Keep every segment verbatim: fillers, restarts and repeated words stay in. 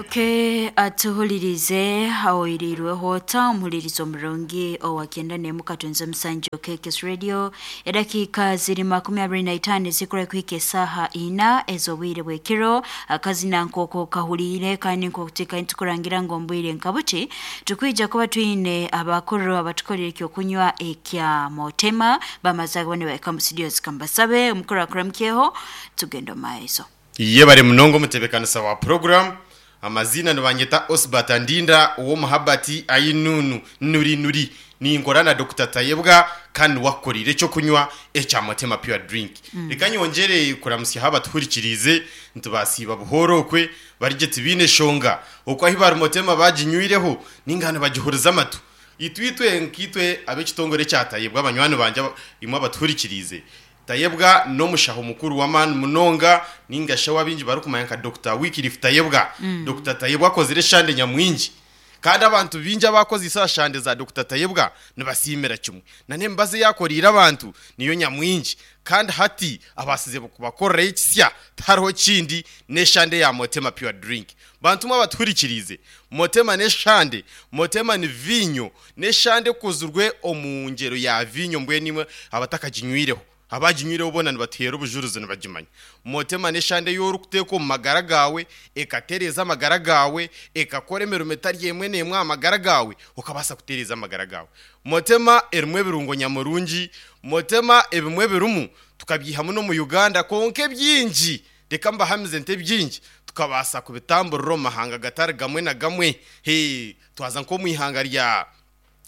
Okay, atuhulirize awoirirweho ta omuhulirizo omurungi owakenda nemu katonze omusanju K K S Radio. Edakiika ziri makumi abiri na itaano zikura kuhika esaaha ina ez'obwire bw'ekiro. Akazina nk'oko kahuliire kandi nk'okuteeka nitukurangira ngu omu nka buti tukwija kuba twine abakuru abatukolera ekyokunywa ekya Motema bamaze kubone bahika mu studio. Zikambasabe omukuru akuramukyeho, tugenda omu maiso. Ye bari munongo omutebekanisa wa program. Amazina nibanyeta Osbert Ndinda ow'omuhabati ainunu nuri nuri. Ninkora na Doctor Tayebwa kandi wakorire cyo kunywa ekya Motema Pure Drink. Reka nyongere kuramusya haba tuhurikirize, ntubasiba buhoro okwe barije tibine shonga okwo ahi bari Motema baginywireho ningano bagihuriza amatu. Itwitwe nkitwe ab'ekitongore kya Tayebwa, abanywani banje imwe abatuhurikirize, Tayebwa n'omushaho mukuru w'amaani munonga ninga shawa bingi barikumanya nka Doctor Wycliffe Tayebwa. mm. Doctor Tayebwa akozire eshande nyamwingi kandi abantu bingi abakoze isa shande za Doctor Tayebwa nibasimira kimwe na nembaze yakorira abantu niyo nyamwingi. Kandi hati abasize kubakorera ekisya tariho kindi n'eshande ya Motema Pure Drink. Bantu mwe abatuhurikirize, Motema n'eshande, Motema ni vinyo n'eshande kuzurwe omu ngero ya vinyo. Mbwe nimwe abatakaginywireho, abaginywireho bona nibatera obujuruzi nibagimanya. Motema n'eshande y'orikuteeka omu magara gawe ekatereeza amagara gawe, ekakora emirimo etari emwe n'emwe aha magara gawe, okabaasa kutereeza amagara gawe. Motema erimu ebirungo nyamurungi. Motema ebimwe birimu tukabyihamu n'omu Uganda, konka ebyingi, reka mbahamize nti ebyingi tukabaasa kubitamburira omu mahanga gatari gamwe na gamwe. He twaza nk'omu ihanga rya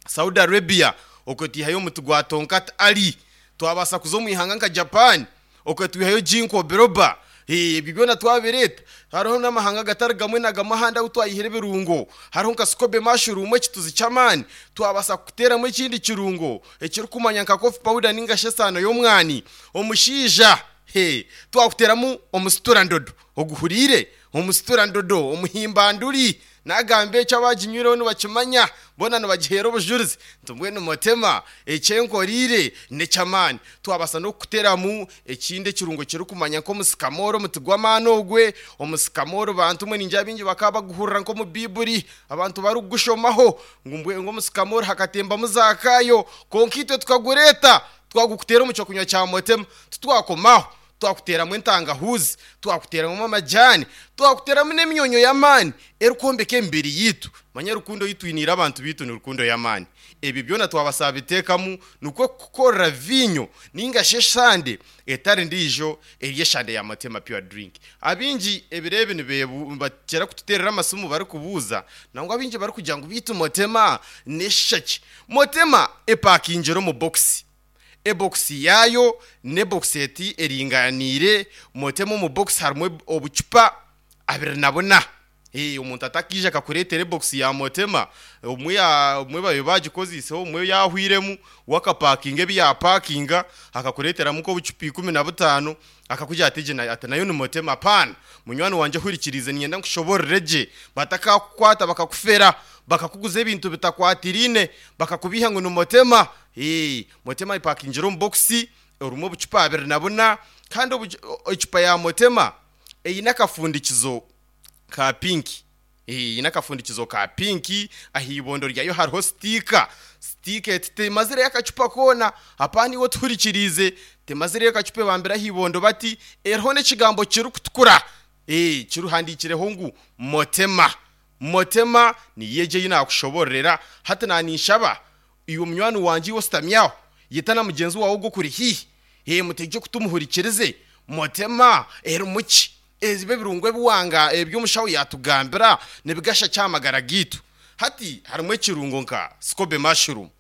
Saudi Arabia, okwe twihayo omuti gwa Tonkat Ali. Twabasa kuza omu ihanga nka Japan, okwe twihayo ginkgo biloba. Ebyo byona twabireta. Hariho n'amahanga gatari gamwe na gamwe ahandi ahu twayihira ebirungo. Hariho nka scobe mushroom, ekituzi ky'amaani. Twabasa kuteeramu ekindi kirungo ekirikumanya nka coffee powder ninga shi esaano y'omwani omushaija. He twakuteramu omusiturandodo oguhuriire, omusiturandodo omuhimbanduri. Nagamba ekyo abaginywireho nibakimanya bona nibagihera obujurizi nti mbwenu Motema ekyenkoriire nekyamaani. Twabasa n'okuteramu ekindi ekirungo kirikumanya nk'omusikamoro, omuti gw'amaani ogwe omusikamoro. Bantu mwe ningira bingi bakaba baguhurira nk'omu Biburi, abantu barikugushomaho ngu mbwe nk'omusikamoro hakatembamu Zakayo, konka itwe tukagureeta twagukutera omu kyokunywa kya Motema. Titwakomaho, twakuteramu entangahuzi, twakuteramu amajani, twakuteramu n'emyonyo y'amaani erikwombeka emibiri yitu. Manya rukundo yitwiniire abantu bitu ni rukundo y'amaani. Ebyo byona twabasaba biteekamu nikwo kukorera vinyo ninga shi eshande etari ndiijo eri eshande ya Motema Pure Drink. Abingi ebiro ebi nibebu bakira kututerera amasimu barikubuuza, nangwa abingi barikugira ngu bitu Motema n'eshaki. Motema epakingire omu bokisi, ebokisi yayo n'ebokisi eti eringaniire. Motema omu bokisi harimu obucupa abiri na buna. Eh, omuntu atakija akakureetera ebokisi ya Motema omwe ya omwe babe bagikoziseho, omwe yahwiremu wakapakinga ebi yapakinga akakureeteramu nk'obucupa ikumi na butaano, akakugira ati egi ati nayo ni Motema. Apana, munywani wanje hurikirize, ninyenda nkushoborere gye batakakukwata bakakufera bakakuguza ebintu bitakwatiriine bakakubiha ngu ni Motema. Eh, Motema ipakingire omu bokisi orimu obucupa abiri na buna. Kandi obucu- ecupa ya Motema eine akafundikizo ka pink. Eine akafundikizo ka pink. Aha ibondo ryayo hariho sticker. Sticker eti temazireyo akacupa koona. Hapana, iwe tuhurikirize, temazireyo akacupa ebambire aha ibondo bati eriho n'ekigambo kirikutukura, eh kiruhandikireho ngu Motema. Motema niyo egyo ei nakushoborera hati. Naninshaba iwe munywani wanje, iwe ositamyaho, yeta na mugenzi wawe ogwo okuri hiihi, eh mutegye kutumuhurikirize. Motema erimu ki? Eziba ebirungo ebiwanga eby'omushaho yatugambira nibigasha kyamagara gitu. Hati harimu ekirungo nka scobe mushroom.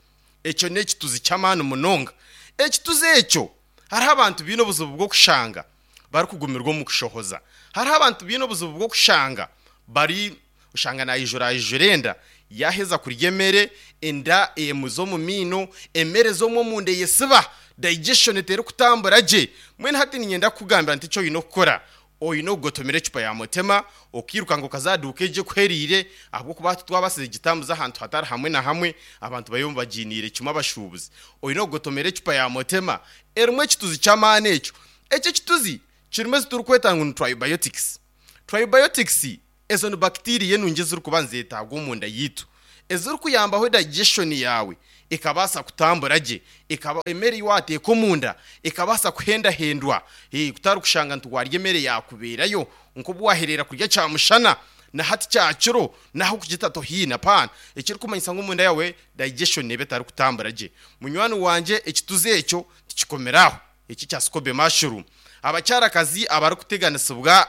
Ekyo n'ekituzi ky'amaani munonga. Ekituzi ekyo, hariho abantu biine obuzibu bw'okushanga barikugumirwa omu kushohoza. Hariho abantu biine obuzibu bw'okushanga bari oshanga nayijura ayijura enda, yaheza kurya emere enda emuza omu miino, emere z'omwe omunda eyesiba, digestion terikutambura gye. Mbwenu hati ninyenda kukugambira nti ekyo oine okukora, oine okugotomera ecupa ya Motema okiruka okazaduka egye ekuheriire, ahabw'okuba titwabasize gitambuza ahantu hatari hamwe na hamwe. Abantu bariyo bagiiniire kimwe abashuubuzi. Oine okugotomera ecupa ya Motema erimu ekituzi ky'amaani. Ekyo ekyo ekituzi kirimu ezi turikweta ngu ni tribiotics. Tribiotics Ezo ni bacteria enungi ezirikuba nizeetagwa omunda yitu, ezirikuyambaho digestion yawe ekabaasa kutambura gye, ekaba emere ei wateeka omunda ekabaasa kuhendahendwa. Eh, kutari kushanga nti warya emere yakubeerayo nk'obu waherera kurya kyamushana na hati kyakiro naho kugita tohiina paana, ekirikumanyisa ngu omunda yawe digestion eba etarikutambura gye. Munywani wangye, ekituzi ekyo tikikomeraho eki kya scobe mushroom. Abakyarakazi abarikuteganisibwa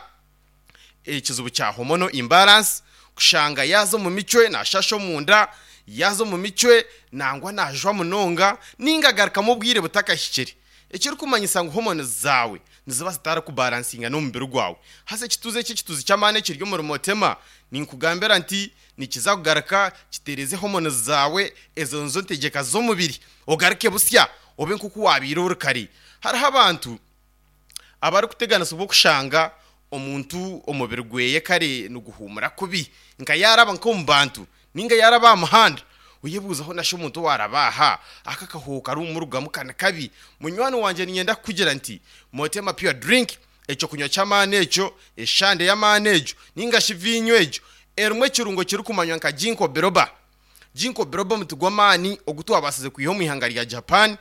ekizibu kya hormonal imbalance, kushanga yaza omu micwe nashasha omunda, yaza omu micwe nangwa najwa munonga, ninga agarukamu obwire butakahikire, ekirikumanyisa ngu hormones zawe niziba zitarikubalansinga n'omubiri gwawe. Hasa ekituzi eki, ekituzi ky'amaani ekiri omuri motema, ninkugambira nti nikiza kugaruka kitereze hormones zawe, ezo nizo ntegeka z'omubiri, ogaruke busya obe nk'oku wabiire ori kare. Hariho abantu abarikuteganisibwa okushanga omuntu omubiri gweye kare niguhumura kubi, nka yaraba nk'omu bantu ninga yaraba aha muhanda, oyebuuzaho nasho omuntu owaraba aha aka kahoho karumurugamu kani kabi. Munywani wangye, ninyenda kukugira nti Motema Pure Drink, ekyo kunywa ky'amaani ekyo, eshande y'amaani egyo ninga shi viinyo egyo, erimu ekirungo kirikumanywa nka ginkgo biloba. Ginkgo biloba omuti gw'amaani ogu twabasize kwiha omu ihanga rya Japan,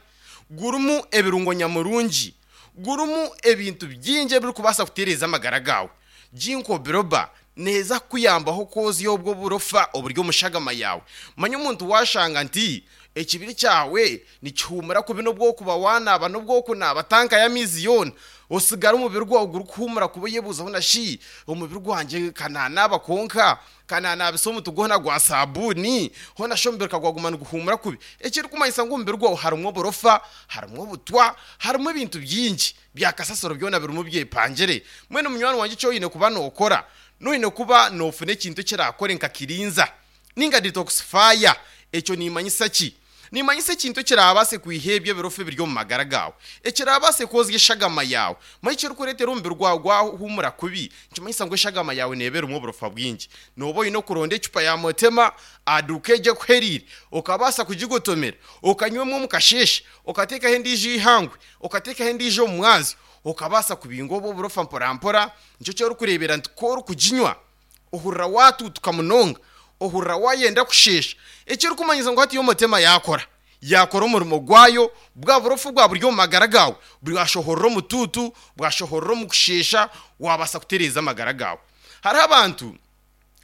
gurimu ebirungo nyamurungi, gurimu ebintu bingi ebirikubaasa kutereeza amagara gawe. Ginkgo biloba neeza kukuyambaho kwozya obwo burofa oburi omu shagama yawe. Manya omuntu washanga nti ekibiri kyawe nikihumura kubi, n'obwokuba wanaaba n'obwokunaaba tanka y'amaizi yoona, osigara omubiri gwawe gurikuhumura kuba, oyebuuzaho nashi omubiri gwangye kananaaba konka kananaabisa omuti gwona gwa sabuuni, hoona shi omubiri kagwaguma niguhumura kubi, ekirikumanyisa ngu omubiri gwawe harimu oburofa, harimu obutwa, harimu ebintu bingi byakasasiro byona birimu byepangire. Mwene munywani wangye, eki oine kuba nookora, noine kuba noofuna ekintu ekirakore nka cleanser ninga detoxifier. Ekyo nimanyisa ki? Nimanyisa ekintu ekirabaase kwiha ebyo ebirofa ebiri omu magara gawe, ekirabaase kwozya eshagama yawe. Manya ekirikureetera omubiri gwawe gwahumura kubi, nikimanyisa ngu eshagama yawe neeba erimu oburofa bwingi. Nooba oine okuronda ecupa ya motema aduuka egyo ekuheriire, okabaasa kugigotomera, okanywemu omu kasheeshe, okateekaho endiijo ihangwe, okateekaho endiijo omu mwazyo, okabaasa kubinga obwo oburofa mpora mpora. Nikyo kyorikureebera nti ku orikuginywa ohurira watuutuka munonga, ohurira wayenda kusheesha, ekirikumanyisa ngu hati omotema yakora yakora omurimo gwayo, bwa burofu bwa buri omu magara gawe bwashohorera omutuutu, bwashohorera omu kusheesha, wabaasa kutereeza amagara gawe. Hariho abantu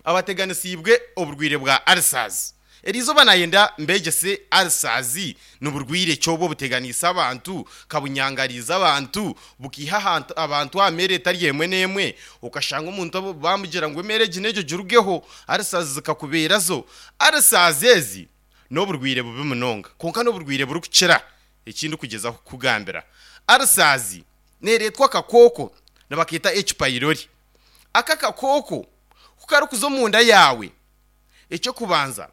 abateganisiibwe oburwire bwa ulcers. Eriizooba nayenda mbegyese ulcers ni burwire ki obwo obuteganiise abantu, kabunyangariza abantu, bukiiha ahantu abantu aha mere etari emwe n'emwe, okashanga omuntu bamugira ngu emere egi n'egyo girugeho, ulcers zikakubeerazo. Ulcers ezi n'oburwire bubi munonga, konka n'oburwire burikukira. Ekindi kugezaho kukugambira, ulcers neereetwa akakooko nibakeeta H pylori. Aka kakooko kukarikuza omunda yawe, ekyokubanza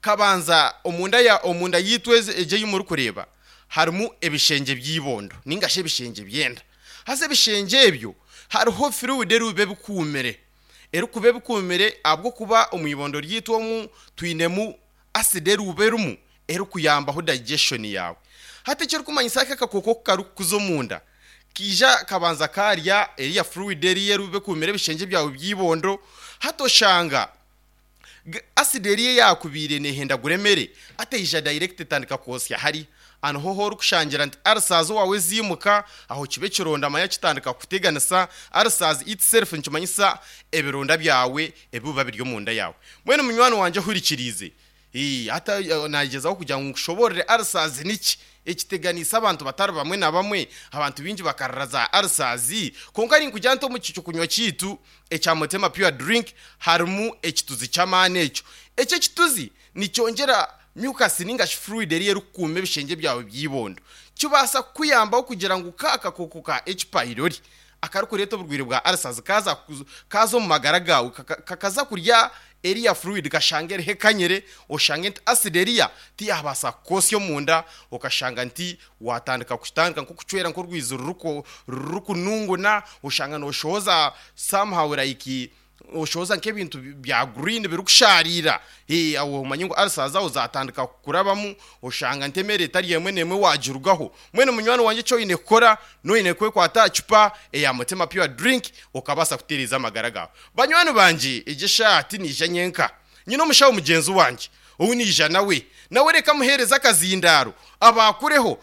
kabanza omunda ya omunda yitu egyo ei murikureeba harimu ebishengye by'ibondo ninga shi ebishengye by'enda. Haza ebishengye ebyo hariho fluid erikuba ebikuumire, erikuba ebikuumire ahabw'okuba omu ibondo ryitu omu twinemu acid erikuba erimu erikuyambaho digestion yawe. Hati ekirikumanyisa aka akakooko kukarikukuza omunda, kiija kabanza karya eriya fluid eriya erikuba ekuumire ebishengye byawe by'ibondo. Hati oshanga acid eriya eyakubiire neehendagura emere ateija direct etandika kwosya hari aniho ho orikushangira nti ulcers owawe ziimuka aho, kiba ekironda manya kitandika kuteganisa. Ulcers itself nikimanyisa ebironda byawe ebiba biri omunda yawe. Mbwenu munywani wangye ohurikiriize, hati nagyezaho kugira ngu nkushoborere ulcers niki ekiteganiisa abantu batari bamwe na bamwe. Abantu bingi bakarira za ulcers, konka ninkugira nti omu kunywa kiitu ekya Motema Pure Drink harimu ekituzi ky'amaani. Ekyo ekyo ekituzi nikyongyera mucus ninga shi fluid eriyo erikukuuma ebishengye byawe by'ibondo, kibaasa kukuyambaho kugira ngu ka akakooko ka H pylori akarikureeta oburwaire bwa ulcers kaza kaza omu magara gawe, kakaza kurya eriya fluid, kashanga eriho ekanyire, oshange nti acid eriya tiyabaasa kukosya omunda, okashanga nti watandika kutandika nk'okucwera nk'orwizi rurikununguna, oshanga noshohoza somehow like Oshoza nk'ebintu bya green birikusharira. Eh, awo omanye ngu ulcers zawe zatandika kukurabamu, oshanga ntemere etari emwe n'emwe wagirugaho. Mwene munywani wangye, eki oine kukora, noine kwekwata aha cupa eya Mutima Pure Drink, okabaasa kutereeza amagara gawe. Banywani bangye, egi eshaati niija nyenka nyine omushaho mugyenzi wangye ou niija nawe nawe. Reka muheereza akazindaaro abakureho.